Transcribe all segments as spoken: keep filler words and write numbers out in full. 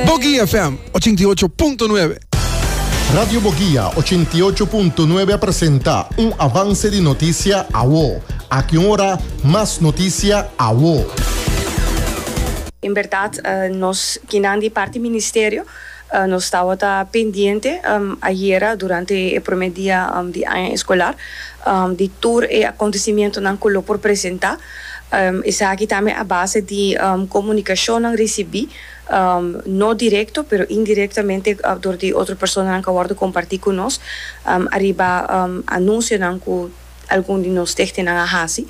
Boguia F M ochenta i ocho punto nuebe. Radio Boguia ochenta i ocho punto nuebe a presenta un avance di noticia awo. Aki ora, mas noticia awo. En berdad, uh, nos, akinan di parti ministerio, uh, nos tabata pendiente um, ayera durante e prome dia um, di aña escolar um, di tur e acontecimentonan cu lo por presenta. Um, esaki tambe a base di um, comunicacion recibi, um, no directo, pero indirectamente uh, door di otro personanan cu a wordo comparti cu nos, um, ariba um, anuncionan cu algun di nos stichtingnan a hasi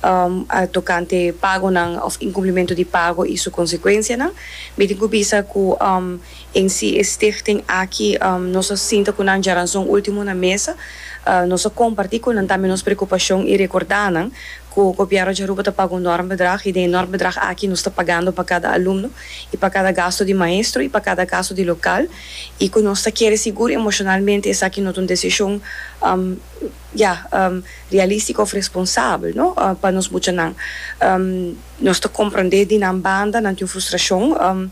um, a tocante pagonan of incumplimento di pago y su consecuencianan. Mi tin cu bisa cu um, en si stichting aki um, nos a sinta cu nan djaranson ultimo na mesa, uh, nos a comparti cu nan tambe nos preocupacion y recorda nan cu gobierno di Aruba ta paga un normbedrag y e normbedrag aki nos ta pagando pa cada alumno y pa cada gasto di maestro y pa cada gasto di local y cu nos ta kere sigur emocionalmente esaki no ta un decision um, ja, um, realistico of responsabel, no? Uh, pa nos muchanan. Um, nos ta comprende di nan banda, nan tin frustracion um,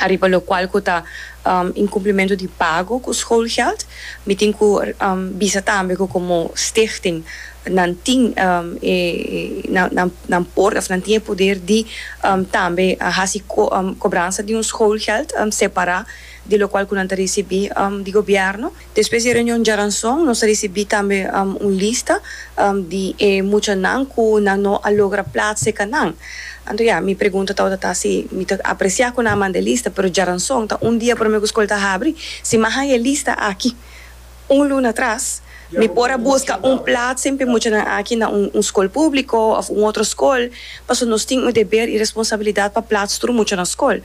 ariba locual cu ta um, incumplimento di pago cu schoolgeld. Mi tin cu um, bisa tambe cu como stichting nan tin um, e, nan, nan, nan por of nan tin poder di um, tambe uh, hasi co, um, cobransa di un schoolgeld um, separa di locual cu nan ta ricibi um, di gobierno. Despues di reunion djaranson, nos a ricibi tambe um, un lista um, di eh, muchanan cu nan no a logra plaatsen kanan. Anto ja, mi pregunta ta ta si mi ta aprecia cu nan manda lista, pero djaranson ta un dia prome cu scol ta habri. Si m'a haya e lista aki un luna atras, mi por a busca un plaats pa e muchanan aki na un, un scol publico of un otro scol, paso nos tin un deber y responsabilidad pa plaats tur mucha na scol.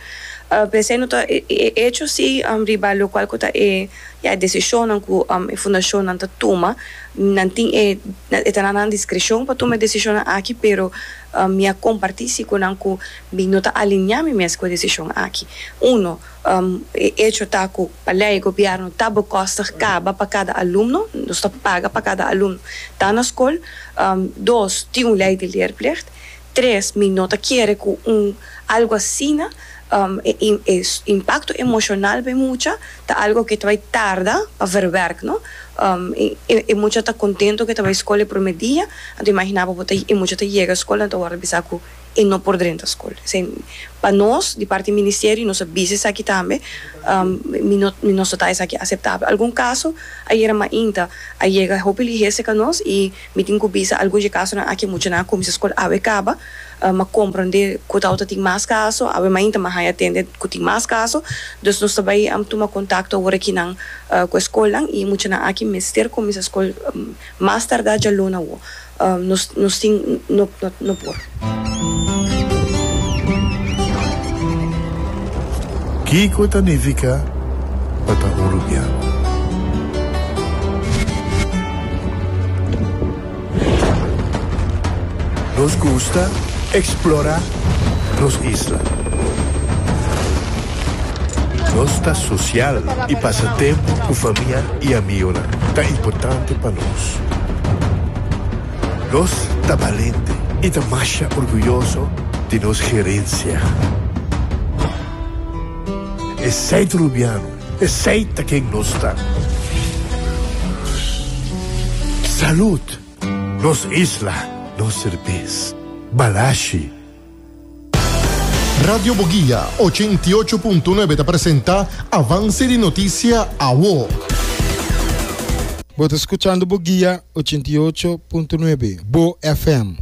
Uh, Pensando ta e, e, hecho si um, riba locual cu ta e ja, decision cu um, e fundacion nan ta tuma, nan tin e e ta na discrecion pa tuma e decision aki, pero um, mi a comparti si cu nan cu mi no ta alinea mi mes cu e decision aki. Uno, um, e hecho ta cu pa ley gobierno ta bekostig caba pa cada alumno, nos ta paga pa cada alumno ta na scol. Um, dos, tin un ley di leerplicht. Tres, mi no ta kere cu un algo asina um, e, e, impacto emocional pa mucha ta algo cu ta bay tarda pa verwerk, no? Um, e, e, e mucha ta contento cu e ta bay scol prome dia, anto imagina bo ta e mucha ta yega scol, anto awor bisa cu e no por drenta scol. Pa nos, di parti ministerio, nos a bisa esaki tambe, um, mi no mi no ta esaki aceptabel. Algun caso, ayera mainta, a yega hopi lihe serca nos y mi tin cu bisa algun casonan aki muchanan a cuminsa scol awe caba, uh, m'a comprende cu ta tin mas caso, awe mainta m'a haya tende cu tin mas caso, dus nos ta bay um, tuma contacto awor aki nan uh, cu scol y muchanan aki mester cuminsa scol um, mas tarda djaluna. Um, nos nos tin no no, no por. Kico ta nifica pa ta Arubiano? Nos gusta explora nos isla. Nos ta social y pasa tempo cu famia y amigo ta importante pa nos. Nos ta valiente y ta mas orguyoso di nos herencia. Esey ta Arubiano, esey ta ken nos ta. Salud, nos isla, nos cerbes, Balashi. Radio Boguia ochenta i ocho punto nuebe ta presenta Avance di Noticia Awo. Bo ta scuchando Boguia ochenta i ocho punto nuebe, Bo F M.